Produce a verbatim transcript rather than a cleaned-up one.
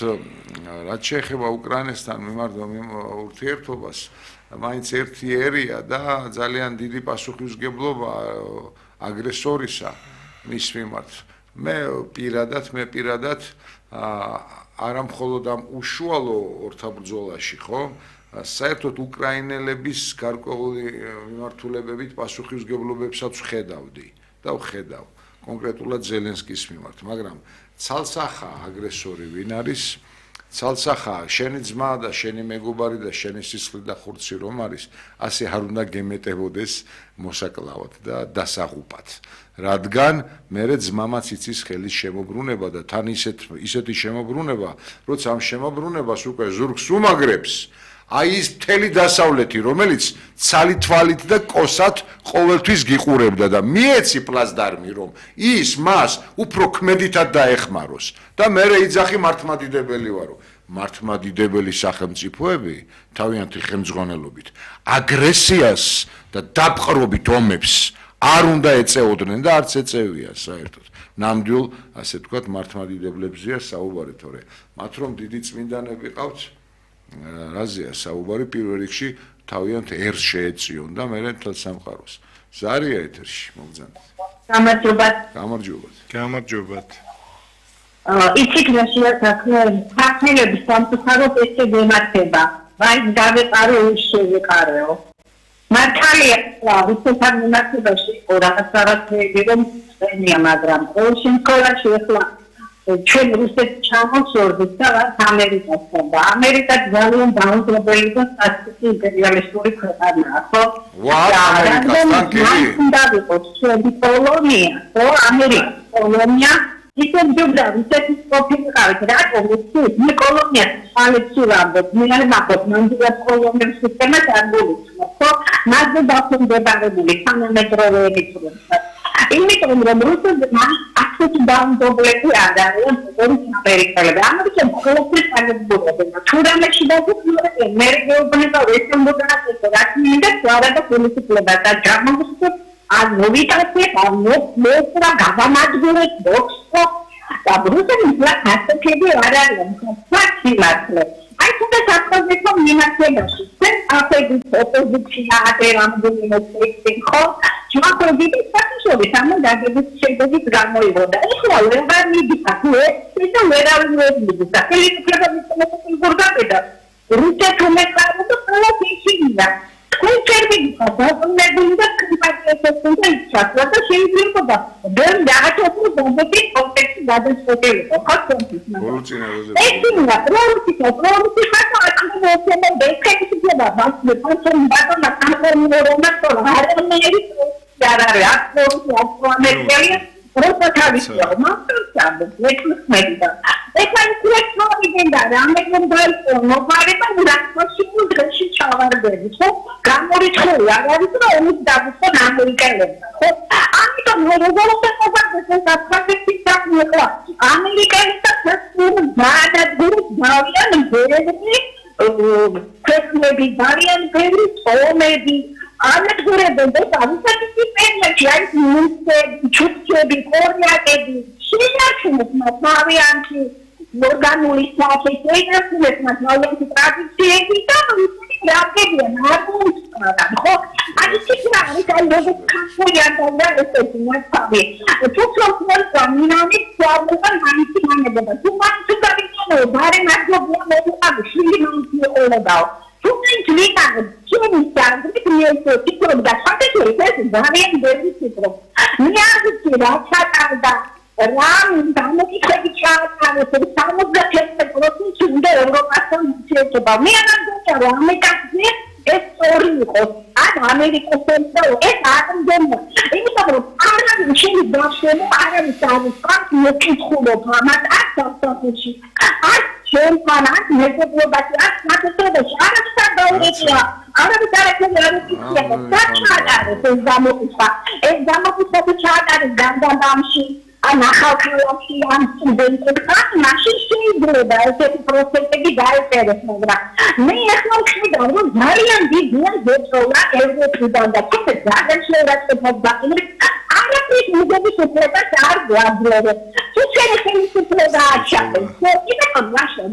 რაც შეეხება უკრაინასთან მიმართ ურთიერთობას, მაინც ერთი ერია და ძალიან დიდი პასუხისმგებლობა აგრესორისა მის მიმართ. მე პირადად, მე პირადად არა მხოლოდ ამ უშუალო ორთაბრძოლაში, ხო? საერთოდ უკრაინელების გარკვეული მიმართულებებით პასუხისმგებლობებსაც ვხედავდი და ვხედავ კონკრეტულად ზელენსკის მიმართ, მაგრამ ცალსახა აგრესორი ვინ არის? ცალსახა შენი ძმა და შენი მეგობარი და შენი სისხლი და ხურცი რომ არის, ასე არ უნდა გემეტებოდეს მოსაკლავად და დასაღუპად. რადგან მერე ძმამაც იცის ხელის შემოbrunება და თან ისეთ ისეთი შემოbrunება, როცა ამ შემოbrunებას უკვე ზურგს უმაგრებს, აი ის მთელი დასავლეთი, რომელიც ცალი თვალით და კოსად ყოველთვის გიყურებდა და მიეცი პლაზდარმი, რომ ის მას უფრო ქმედითად დაეხმაროს და მერე იძახი მართლმადიდებელი ვარო. მართლმადიდებელი სახელმწიფოები თავიანთი ხელმძღვანელობით აგრესიას და დაპყრობით ომებს არ უნდა ეწეოდნენ და არც ეწევიან საერთოდ. ნამდვილ, ასე ვთქვათ, მართლმადიდებლებზეა საუბარი, თორე მათ რომ დიდი წმინდანები ყავთ, რაზეა საუბარი, პირველ რიგში თავიანთ ერს შეეწიონ და მერე მთელ სამყაროს. ზარია ეთერში, მოგზაურობთ. გამარჯობათ. გამარჯობათ. გამარჯობათ. იცით რა შეასახე ფაქტები სამწუხაროდ ესე გემართება. ვაი დავეყარო ის შევეყარეო. მართალია, რუსეთთან მიმართებაში რაღაც რაღაცები რომ წენია, მაგრამ ყოველ შემთხვევაში ახლა ჩვენ რუსეთს ჩამოვსვორდით და ამერიკასთან და ამერიკა ძალიან დაუნდობელი და სასტიკი იმპერიალისტური ქვეყანაა, ხო? ვა, ამერიკასთან კი? უნდა ვიყოს ჩვენი კოლონია, ხო? ამერიკის კოლონია ისე ჯობდა რუსეთის ყოფილიყავით, რატომ ისე კოლონია ალექსულამდე, მე არ მახოთ მანდიას კოლონიების სისტემას არ გულისხმობ, ხო? მასზე დაქვემდებარებული თანამედროვე ელიტურებსაც. იმიტომ რომ რუსეთმა ასეთი დაუნდობლები არ არიან როგორც ამერიკელები. ამერიკელები ყოველთვის აღებულობენ. თუ რამეში დაგვიწყდნენ, მე გეუბნება ვესწრებოდა რაც მინდა სვარა და პოლიტიკება და გამოგცეთ ან მოვიტანეთ ან მოვწერა გამამადგურეთ ბოქსო და რუსეთის ასეთები არ არიან. ფაქტი მართლა. აი თუნდაც საფრანგეთო მიმართებაში ჩვენ აფეგის ოპოზიცია ატერამდე მოსწრიფი ხო? ჩმოყრდით საფიშორი სამოდაგების შედეგით გამოიღო და ეხლა ვეღარ მიდიხარ ეს და ვერავინ ვერ მიდიხარ. ხელისუფლება მისცემს გორგაბედა. რუსეთ უმეყარო და ყველა ისინია. თქვენ წერმიდიხარ დაბრუნებული და კრიპატიასთან და ისალა და შეიძლება ვერ დააჩოქო მომენტის კონტექსტი გადაწყვეტილიყო. ხო თქვენთვის ბოლოწინა როზე ესინა პროექტი პროექტი ხატა აქ მოხდება დექექცია მას მეფონთან ბატონა კამერონა თორ არამერი არ არის აკორდი აკორამერია როცა თავისია მასწავლე მექმედა ეხლა ისრექტორი გენდა რამეგენ დაიწყო მოგარება ურანში დღეში ჩავარდები ხო გამორიცხული არ არის რომ ომის დაგვიწყო ამერიკელებმა ხო ამიტომ როგორ შეყვარდეს ეს საფრანგეთის საკმაო ამერიკელებთან სასწრაფო დაადაგუროს დავიან ბერები ქვეყნები ძალიან ბევრი ომები ანადგურებენ და ამისაკი პერიოდში არის მუსები, ჩუქჩები, კორიაკები, შეინარჩუნებს მათ თავიანთი ორგანული სახე, შეინარჩუნებს მათ თავიანთი ტრადიციები და ისეთი რამებიან არ მოუსწრებენ, ხო? აი ისეთი არის, აი როგორც ქართულიდან და ესეთი მასშტაბი. თუ პროფესორ გამინანი სწავლობენ ამის მანებობა. თუ მას თუ გავიქნო, ბარე მადლობა მოუყავ, შვილი მომწეოლებაო. Tukaj gledamo, če mi stvari, ki mi je tikro, da svake čovjek je zavien veľmi tikro. Ja si račatam, da rám, tam ki se vyčátam, to samozrejme prosím, či bude Európa som svetova. My nám dočaráme, tak je estoriho. A Amerika som to, es ádam doma. Ini dobro, áram učili dašemu, áram sávu, skak nekým chudobám, a tak to učí. A Чем фанат, не забывайте, а смотрите, а что говорите, а вы дарите мне руки, так чатали, это замокуса, это замокуса, это чатали, гандамши, а нахалкалаши, амсуденты, как наши шейдры, да, это просто гидают пересмотра. Мы их научили, да, вот Мариан видел, что я это придал, да, это дальше раз что подбавили. А я пришел, что это шар, да, блядь. Тут все ხელისუფლება აჩაღებს. კიდევ კონდაშენ